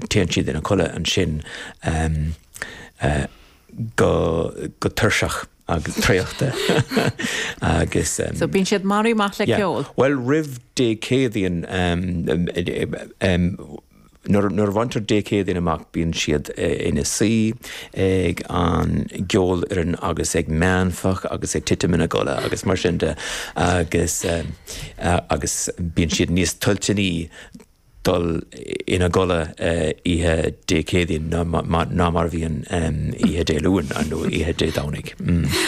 Téann siad ina codladh ansin go tuirseach agus traochta agus. So bíonn siad maraithe amach le ceol? Bhuel, roimh Dé Céadaoin, nuair a bhaintear Dé Céadaoin amach bíonn siad ina suí ag an gceolfhoireann agus ag meánfach agus ag titim ina gcodladh agus mar sin de agus agus bíonn siad níos toilteanaí dul ina gcodladh oíche Dé Céadaoin ná mar a bhíonn oíche Dé Luain nó oíche Dé Domhnaigh.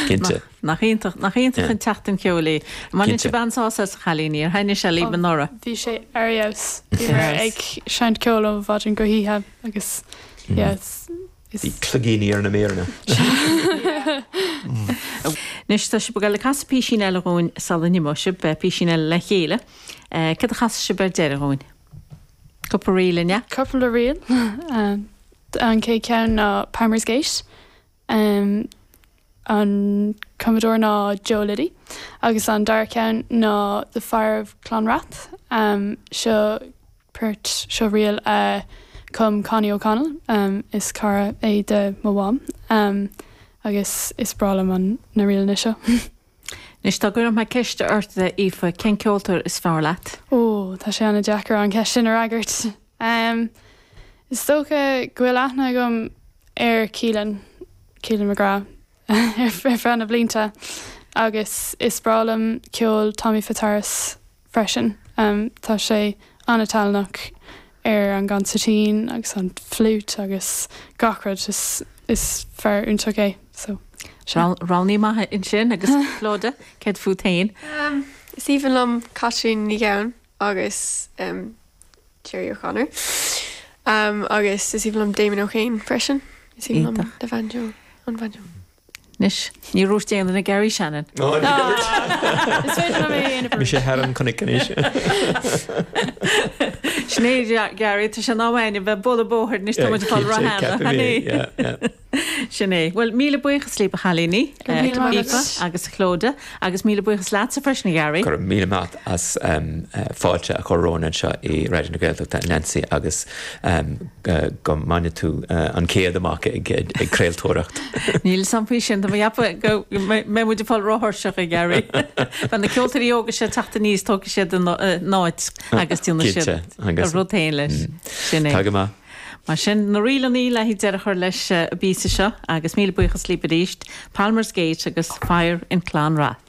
Cinnte. Nach iontach, nach iontach an tseachtain cheoil í. An mbaineann sibh an-sásamh as a chailíní, ar thaitnigh sé libh anuraidh? Bhí sé ar fheabhas. Bhíomar ag seinnt ceoil ó mhaidin go hoíche agus yeah, is. Bhí cloigíní ar na méireanna. Anois tá sibh ag dul ag casadh písín eile dhúinn sula n-imeoidh sibh, písín eile le chéile. Cad a chasfaidh sibh ar deireadh dhúinn? Cúpla ríl, an ea? Cúpla ríl. An chéad cheann ná Palmer's Gate. An cumadóir ná Joe Liddy. Agus an dara ceann ná The Fire of Clonrath. Seo port, seo ríl a chum Connie O'Connell. Is cara é de mo mham. Agus is breá liom na ríleanna seo. Anois dá gcuirfeadh mé ceist ort, a Aoife, cén ceoltóir is fearr leat? Ó, tá sé an-deacair an cheist sin a fhreagairt. Is dócha go bhfuil aithne agam ar Keelan, Keelan McGrath, ar feadh na blianta agus is breá liom ceol Tommy Fitzharris freisin. Tá sé an-tallanach ar an gconsairtín agus an fliúit agus gach rud. Is is fear iontach é so sea. Roghnaí maith ansin agus Clodagh, céard fút féin? Is aoibhinn liom Caitlín Ní Ghabhann agus Gerry O'Connor agus is aoibhinn liom Damon O'Kane freisin. Is aoibhinn liom na banjo, an banjo. Anois, níor dhúirt aon duine Gary Shannon. Ó, ní dúirt. Is féidir liom é a dhéanamh arís. Mise thar an chnoic anois. Sin é, Gary, tá sé in am againn a bheith ag bualadh bóthair anois, tá muid ag fáil róshean. An é? Sin é. Bhuel, míle buíochas libh, a chailíní, Aoife agus Clodagh, agus míle buíochas leatsa freisin, a Gary. Go raibh míle maith as fáilte a chur romhainn anseo i Raidió na Gaeltachta, Nancy, agus go mbaine tú an céad amach ag craoltóireacht. Níl 'fhios a'm faoi sin, tá mé ag ceapadh go mbeidh muid ag fáil róthuirseach a Gary. Beidh na ceoltóirí óga seo ag teacht aníos, tógfaidh siad an áit agus déanfaidh siad a rud féin leis. Sin é. Tá go maith. Mar sin, na ríleanna le haghaidh deireadh a chur leis an bpíosa seo agus míle buíochas libh arís, Palmer's Gate agus Fire in Clonrath.